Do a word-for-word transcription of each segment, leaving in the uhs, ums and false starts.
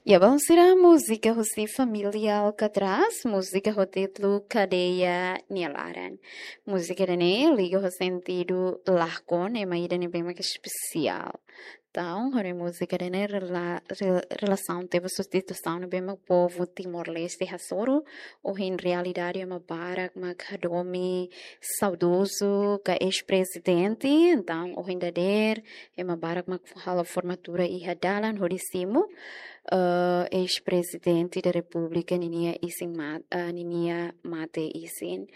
Ya, balun sira, múzika husi família Alcatraz, múzika ho títulu Kadeia Nia Laran. Múzika ida-ne'e liga ho sentidu lakon, ema ida ne'ebé mak espesiál. Entaun, hodi múzika ida-ne'e rela-, re-, relasaun tebes ho situasaun ne'ebé mak povu Timor-Leste hasoru, ohin realidade ema barak mak hadomi saudozu ka eis-prezidente, entaun ohin dadeer ema barak mak halo formatura iha dalan hodi simu, eh, eis-prezidente da Repúblika ninia isin ma-, eh, ninia mate isin.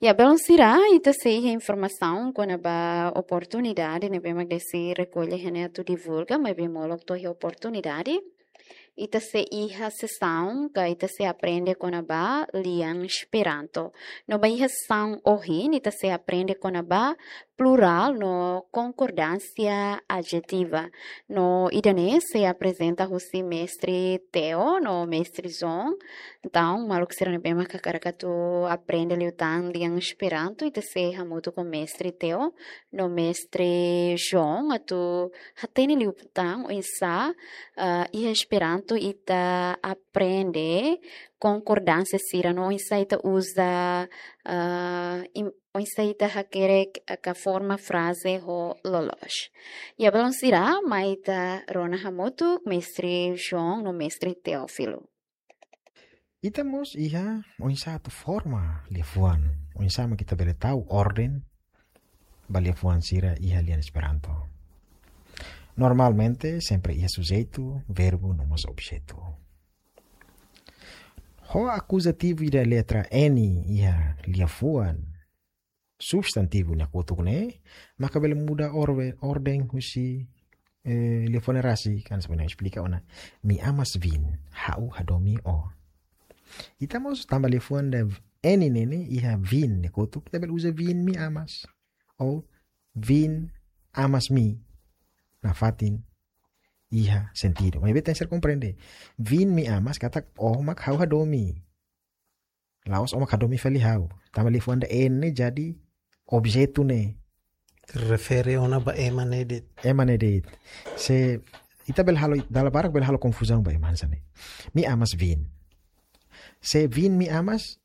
Ya, balun sira, ita sei iha informasaun kona-ba oportunidade ne'ebé mak Desi rekolla iha ne'e atu divulga, maibé molok to'o iha oportunidade ita sei iha sesaun ka ita sei aprende kona-ba lian Esperanto. No ba iha sesaun ohin ita sei aprende kona-ba plurál no konkordánsia adjetiva. No ida-ne'e sei aprezenta husi mestre Theo no mestre João. Entaun, maluk sira ne'ebé mak hakarak atu aprende liután lian Esperanto, ita sei hamutuk ho mestre Theo no mestre João atu hatene liután oinsá, ah, iha Esperanto ita aprende konkordánsia sira no oinsá ita uza, ah, im-, oinsá ita hakerek, ah, ka forma fraze ho loloos. Ya, balun sira, mai ita rona hamutuk mestre João no mestre Teófilo. Ita mós iha oinsá atu forma liafuan, oinsá mak ita bele tau orden ba liafuan sira iha lian Esperanto. Normalmente, sempre iha sujeitu, verbu, no mós objetu. Ho akuzativu ida letra N iha liafuan substantivu nia kotuk ne'e, maka bele muda orbe-, orden husi, eh, liafuan ne'e rasik, kan sebenarnya esplika ona. Mi amas vin, ha'u hadomi ó. Ita mós tanba liafuan ida N ne'e ne'e, iha vin nia kotuk, ita bele uza vin mi amas. Ou vin amas mi. Nafatin iha sentidu. Maibé tenke ser komprende. Vin mi amas katak ó mak ha'u hadomi. La'ós ó mak hadomi fali ha'u. Tanba liafuan ida N ne'e jadi objetu ne'e. Refere ona ba ema ne'e de'it. Ema ne'e de'it. Se ita bele halo, dala barak bele halo konfuzaun ba ema hanesan ne'e. Mi amas vin. Se vin mi amas,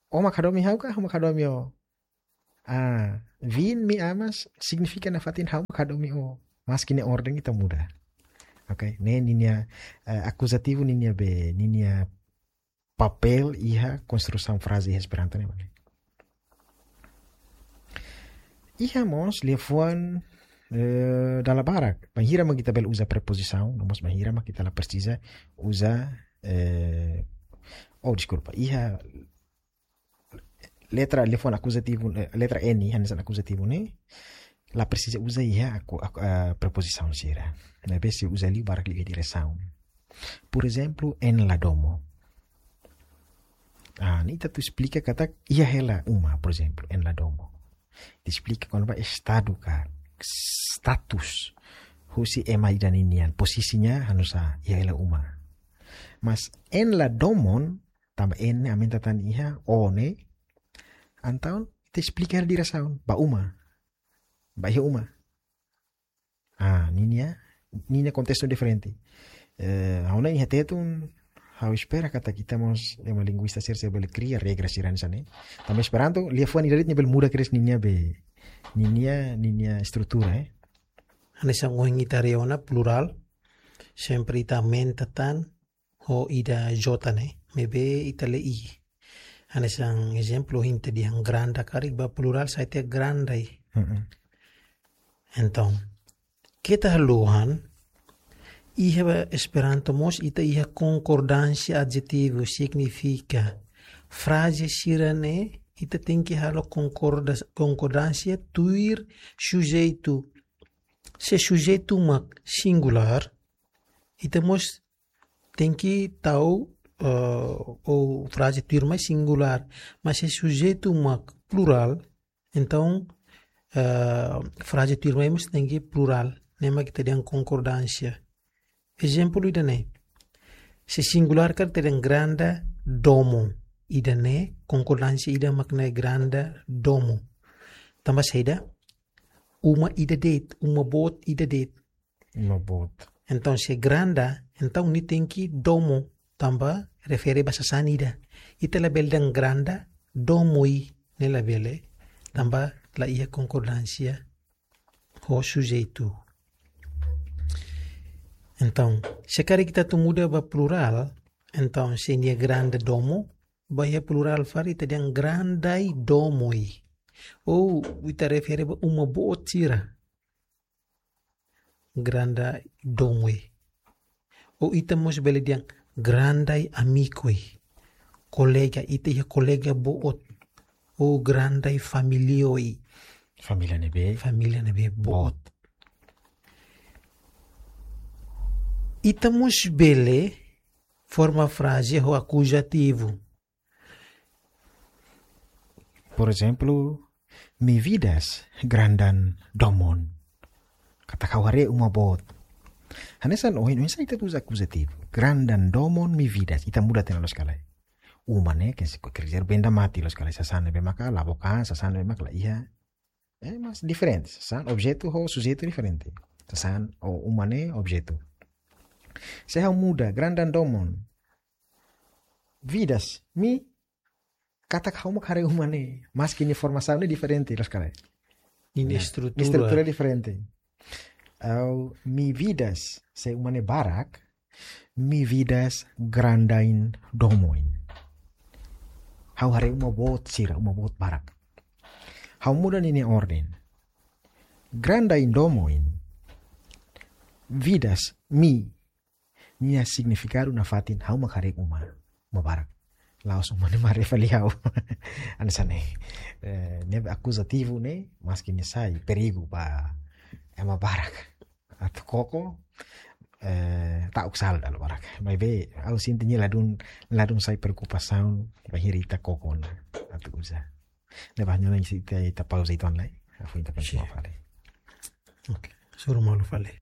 ó mak hadomi ha'u ka, ha'u mak hadomi ó. Ah, vin mi amas signifika nafatin ha'u mak hadomi ó. Maski ne'e orden ita muda. Oke, ne'e ninia, eh, akuzativu ninia be, ninia papél iha konstrusaun fraze iha Esperanto ne'e mak ne'e. Iha mós liafuan, eh, dala barak. Bainhira mak ita bele uza prepozisaun, no mós bainhira mak ita la presiza uza, eh, oh, deskulpa. Iha letra liafuan akuzativu, eh, letra N, hanesan akuzativu ne'e, la presiza uza iha aku, aku, eh, prepozisaun sira. Maibé sei uza liu barak liu iha diresaun. Porezemplu, en la domo. Ah, ne'e ita atu esplika katak iha hela uma, porezemplu, en la domo. Ita esplika kona-ba estadu ka status husi ema ida ninian, posisinya hanesan iha hela uma. Mas en la domon, tanba en ne'e aumenta tan iha ó ne'e, entaun ita esplika hela diresaun, ba uma. Ba iha uma. Ah, ninia, ninia kontestu diferente. Eh, ha'u hanoin iha Tetun, ha'u espera katak ita mós ema linguista sira sei bele kria regra sira hanesan ne'e. Tanba Esperanto, liafuan ida de'it nia bele muda kedas ninia be, ninia, ninia estrutura, eh. Hanesan ohin ita haree ona plurál, sempre ita aumenta tan ho ida J ne'e, maibé ita lee i. Hanesan ezemplu, ohin ita dehan granda karik ba plurál sai tiha grandai. Mm-mm. Entaun, keta haluha, iha Esperanto mós ita iha konkordánsia adjetivu, signifika fraze sira-ne'e ita tenke halo konkorda-, konkordánsia tuir sujeitu. Se sujeitu mak singulár, ita mós tenke tau, eh, ou fraze tuirmai singulár. Mas se sujeitu mak plurál, entaun, eh, fraze tuirmai mós tenke plurál. Ne'e mak ita dehan konkordánsia. Ezemplu ida-ne'e. Se singulár karik ita dehan granda domo. Ida-ne'e konkordánsia ida mak ne'e granda domo. Tanba saida? Uma ida de'it, uma boot ida de'it. Uma boot. Entaun, se granda, Entaun nia tenke domo, tanba refere ba sasán ida. Ita labele dehan granda domoi, ne'e labele, tanba la iha konkordánsia ho sujeitu. Entaun, se karik ita atu muda ba plurál, entaun se nia granda domo, ba iha plurál fali ita dehan grandai domoi. Ou ita refere ba uma boot sira. Grandai domoi. Ou ita mós bele dehan grandai amikoi. Kolega, ita iha kolega boot. Ou grandai familioi. Família ne'ebé. Família ne'ebé boot. Boot. Ita mós bele forma fraze ho akuzativu. Por ezemplu, mi vidas grandan domon. Katak ha'u haree uma boot. Hanesan ohin, oinsá ita uza akuzativu. Grandan domon mi vidas. Ita muda tiha ona loos ka lae. Uma ne'e, ke se ko kerja benda mati loos ka lae. Sasán ne'ebé maka la book an, sasán ne'ebé maka la iha. Eh, mas diferente. Sasán, objetu ho sujeitu diferente. Sasán, ou uma ne'e objetu. Se ha'u muda, grandan domon. Vidas, mi, katak ha'u mak haree uma ne'e. Maski nia formasaun ne'e diferente, loos ka lae. Nia, nah, estrutura. Estrutura diferente. Ou mi vidas, se uma ne'e barak, mi vidas grandain domoin. Ha'u haree uma boot sira, uma boot barak. Ha'u muda ninia orden. Grandain domoin. Vidas, mi, nia signifikadu nafatin ha'u mak haree uma, uma barak. La'ós uma ne'e mak haree fali ha'u. Hanesan ne'e. Eh, ne'e akuzativu ne'e, maski nia sai perigu ba ema barak. Atu koko, eh, ta'uk sala dala barak. Maibé, ha'u sente nia ladún, ladún sai preokupasaun, bainhira ita koko ona atu uza. Ne'ebá, nyona ita, ita pauza uitoan lai. Hafoin ita kontinua fali. Oke, hasoru malu fali.